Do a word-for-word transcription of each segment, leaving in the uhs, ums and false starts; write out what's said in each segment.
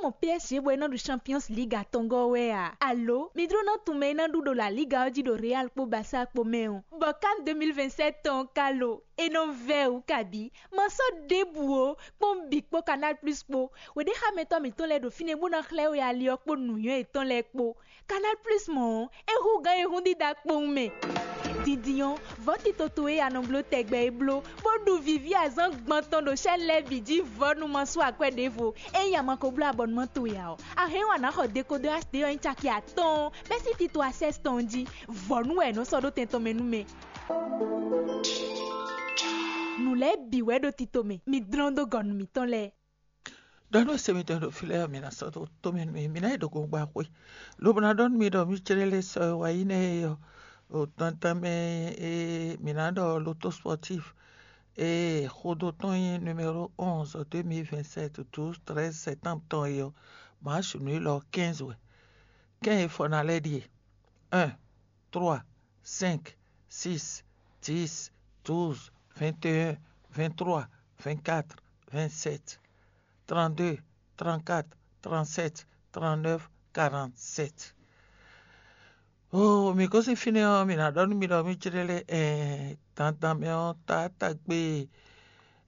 Mɔ P S G bɔ é nɔ ɖu Champions League atɔngɔ́ wɛ a? Alo mi jló ná tunwun mɛ e ná ɖu ɖo La Liga ɔ́ jí ɖo Real kpó Barça kpó mɛ ɔ́? Bɔ CAN deux mille vingt-sept tɔn ka lo, é nɔ vɛ́ wǔ kabǐ. Ma sɔ́ ɖěbǔ ó, kpɔ́n bǐ kpó Canal Plus kpó. Wěɖéxámɛtɔ́ mǐtɔn lɛ́ɛ ɖo fínɛ́ bó ná xlɛ́ we ali ɔ́ kpó nǔnywɛ́ yětɔn lɛ́ɛ kpó. Canal Plus mɔ̌ ɔ́, é hú gǎn e hún dídá kpowun mɛ. Dindin ɔ́, vɔ̌ tito towe e a nɔ bló tɛgbɛ é bló, bó ɖu vǐví azǎn gbɔn tɔn ɖo sɛ́n lɛ́ɛ bǐ jí vɔ̌ nú ma sú akwɛ́ ɖěvo. Ényí a ma ko bló abɔnumán towe ǎ ɔ́, a hɛn wá ná xɔ dekodɔ H D ɔ́ nyí caki atɔ́ɔ́n bɛ́ sín tito Access tɔn jí. Vɔ̌ nú wɛ è nɔ sɔ́ ɖó tɛn tɔn mɛ nú mɛ. Nǔ lɛ́ɛ bǐ wɛ ɖo tito mɛ, mi dlɔ́n dó gɔ̌ nú mǐtɔn lɛ́ɛ. Ɖɔ nú se mitɔn ɖo fí lɛ́ɛ ɔ́, mi ná sɔ́ dó tó mɛ nú mì, mi ná yi ɖo gongba xwé, lobo ná ɖɔ nú mi ɖɔ mí jlé lé sɔ e wá yi nɛ́ é ɔ́, ɖo dandan mɛ e mǐ ná ɖɔ loto sportif e xodó tɔn nyí numéro onze deux mille vingt-sept douze treize septembre tɔn é ɔ́, mǎ su nǔ élɔ́ quinze wɛ. Kɛ́n e fɔ ná lɛ́ ɖíe: un, trois, cinq, six, dix, douze, vingt et un, vingt-trois, vingt-quatre, vingt-sept, trente-deux, trente-quatre, trente-sept, trente-neuf, quarante-sept. Oo, mǐ gosín fínɛ́ ɔ́, mǐ ná ɖɔ nú mi ɖɔ mí jlé lé ɛɛ dandan mɛ ɔ́, taátagbe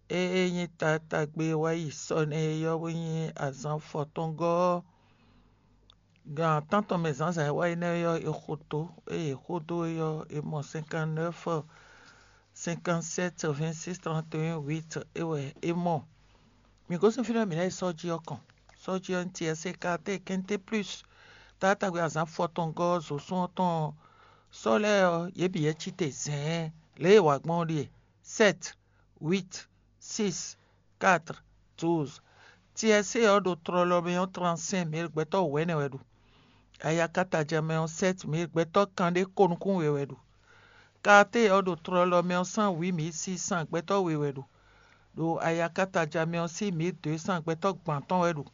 e nyí taátagbe e wá yi sɔ nɛ́ é ɔ́ wɛ nyí azǎn fɔtɔ́ngɔ́ ɔ́. Gan tántɔn mɛ zǎnzǎn e wá yi nɛ́ ɔ́, è xo dó, ée è xo dó é ɔ́, è mɔ cinquante-neuf, cinquante-sept, vingt-six, trente et un, huit é wɛ é mɔ. Mǐ gosín fínɛ́ mǐ ná yi sɔ́ jí ɔ́ kɔn. Sɔ́ jí ɔ́, N T S C, K T, Quinté Plus, taátagbe azǎn fɔtɔngɔ́ zǒsún ɔ́ tɔn ɔ́, sɔ́ lɛ́ɛ ɔ́, yě bǐ yɛ cí te zɛ̌ɛn. Lě e è wa gbɔn ɔ́ ɖíe: sept, huit, six, quatre, douze. T S C ɔ́ ɖo tlɔlɔ mɛ ɔ́, trente-cinq mille gbɛtɔ́ wɛ̌nɛ wɛ ɖu. Ayakataja mɛ ɔ́, sept mille gbɛtɔ́ kanɖé ko nukún we wɛ ɖu. K T ɔ́ ɖo tlɔlɔ mɛ ɔ́, cent huit mille six cents gbɛtɔ́ we wɛ ɖu. Ɖo ayakataja mɛ ɔ́, six mille deux cents gbɛtɔ́ gban tɔn wɛ ɖu.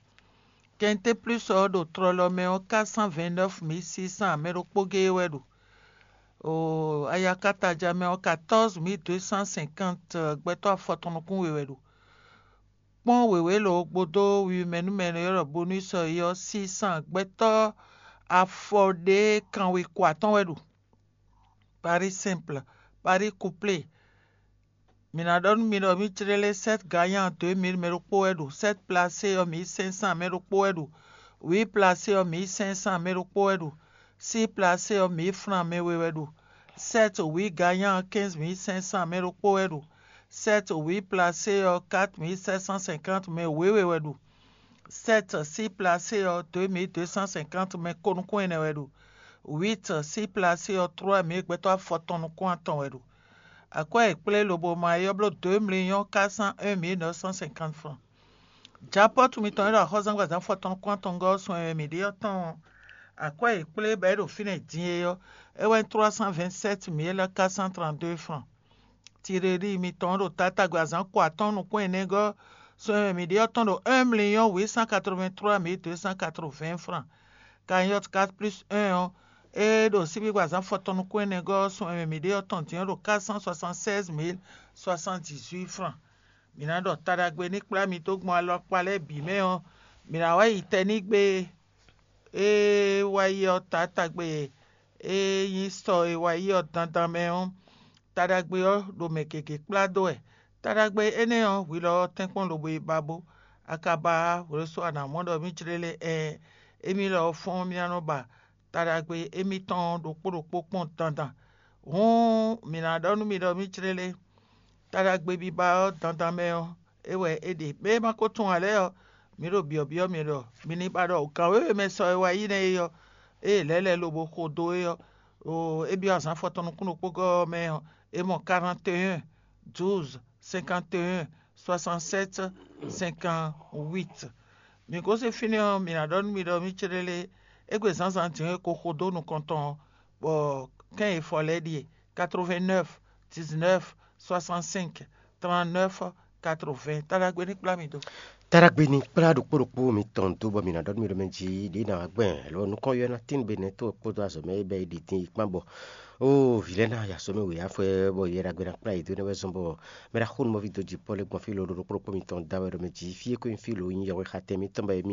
Quinté Plus ɔ́ ɖo tlɔlɔ mɛ ɔ́, quatre cent vingt-neuf mille six cents mɛ ɖokpó géé wɛ ɖu. Oo, ayakataja mɛ ɔ́, quatorze mille deux cent cinquante gbɛtɔ́ afɔtɔn nukún we wɛ ɖu. Kpɔ́n wěwé lǒ gbódó wiwi mɛ nú mɛ e è nɔ ylɔ́ ɖɔ bonus ɔ́ é ɔ́, six cents gbɛtɔ́ afɔ ɖé kanwe ko atɔ́ɔ́n wɛ ɖu. Pari simple, pari couplé. Mǐ ná ɖɔ nú mi ɖɔ mǐ jlé lé: sept gagnant deux mille mɛ ɖokpó wɛ ɖu, sept placé ɔ́, mille cinq cents mɛ ɖokpó wɛ ɖu, huit placé ɔ́, mille cinq cents mɛ ɖokpó wɛ ɖu, six placé ɔ́, mille francs mɛ we wɛ ɖu, sept huit gagnant quinze mille cinq cents mɛ ɖokpó wɛ ɖu, sept huit placé ɔ́, quatre mille sept cent cinquante mɛ wěwe wɛ ɖu, sept six placé ɔ́, deux mille deux cent cinquante mɛ ko nukún ɛnɛ wɛ ɖu, huit six placé ɔ́, trois mille gbɛtɔ́ afɔtɔn nukún atɔn wɛ ɖu. Akwɛ́ e è kplé lobo ma é ɔ́ bló deux millions quatre cent un mille neuf cent cinquante francs. Japɔ́tu mitɔn e ɖo axɔ́zángbazán fɔtɔn nukún atɔngɔ́ ɔ́ sun e mǐ ɖe ɔ́ tɔn ɔ́, akwɛ́ e è kplé bɔ é ɖo fínɛ́ din é ɔ́, é wɛ nyí trois cent vingt-sept mille quatre cent trente-deux francs. Tireli mitɔn ɖo tatágbe azǎn ko atɔ́ɔ́n nukún ɛnɛgɔ́ sun e mǐ ɖe ɔ́ tɔn ɖo un million huit cent quatre-vingt-trois mille deux cent quatre-vingts francs. Cagnotte quatre plus un ɔ́, é ɖo síbígbe azǎn fɔtɔn nukún ɛnɛgɔ́ sun e mǐ ɖe ɔ́ tɔn din ɔ́ ɖo quatre cent soixante-seize mille soixante-dix-huit francs. Mǐ ná ɖɔ taɖagbe ní kplá mi dó gbɔn alɔkpa lɛ́ɛ bǐ mɛ ɔ́, mǐ ná wá yi tɛnígbe e wá yi ɔ́ taátagbe e nyí sɔ e wá yi ɔ́ dandan mɛ ɔ́, taɖagbe ɔ́ ɖo mɛ gěgé kplá dó wɛ. Taɖagbe énɛ́ ɔ́, hwi lɔ ɔ́ tɛ́nkpɔ́n lobo yi ba bó. Akaba ɔ́, hwlɛ́sú a nǎ mɔ ɖɔ mǐ jlé lé ɛɛ, émí lɔ ɔ́ fɔ́n mì ná nɔ ba taɖagbe émítɔn ɔ́ ɖokpó ɖokpó kpɔ́n dandan. Hǔn mǐ ná ɖɔ nú mi ɖɔ mǐ jlé lé, taɖagbe biba ɔ́ dandan mɛ ɔ́, é wɛ é ɖe. Mɛ e ma ko tunwun ǎ lɛ́ɛ ɔ́, mǐ ɖo byɔ̌byɔ́ mi ɖɔ mi ní ba ɖɔ gǎn wěwe mɛ sɔ e wá yi nɛ́ é ɔ́, ée lɛ̌ lɛ́ lobo xo dó é ɔ́, ɖo é byɔ́ azǎn fɔtɔn nukún ɖokpógɔ́ ɔ́ mɛ ɔ́, é mɔ quarante et un, douze, cinquante et un, soixante-sept, cinquante-huit. Mǐ gosín fínɛ́ ɔ́, mǐ ná ɖɔ nú mi ɖɔ mǐ céɖélé, égbé zǎnzǎn din e ko xo dó nukɔn tɔn ɔ́, bɔ kɛ́n e fɔ lɛ́ɛ ɖíe: quatre-vingt-neuf, dix-neuf, soixante-cinq, trente-neuf, quatre-vingts. Taɖagbe ní kplá mi dó. Taɖagbe ní kplá ɖokpó ɖokpó mitɔn dó, bɔ mǐ ná ɖɔ nú mi ɖɔ mɛ jí ɖě ná wá gbɛn lɔ nukɔn yɔ ná tín be nɛ́ tó kpódó azɔ̌ mɛ e bɛ yi ɖi dín yi kpán bɔ ó vǐ lɛ́ɛ ná ya sɔ́ mɛ wě afɔɛ bɔ yɛ ɖagbe ná kplá yě dó nɛ́ wɛ zɔ́n bɔ mɛ ɖaxó nú mɔví dó jǐ pɔ́ lɛ́ɛ gbɔn fí lo ɖokpó ɖokpó mitɔn da wɛ ɖɔ mɛ jí fí e ko nyí fí lo nyí yɛhwe xatɛn mitɔn bɔ émí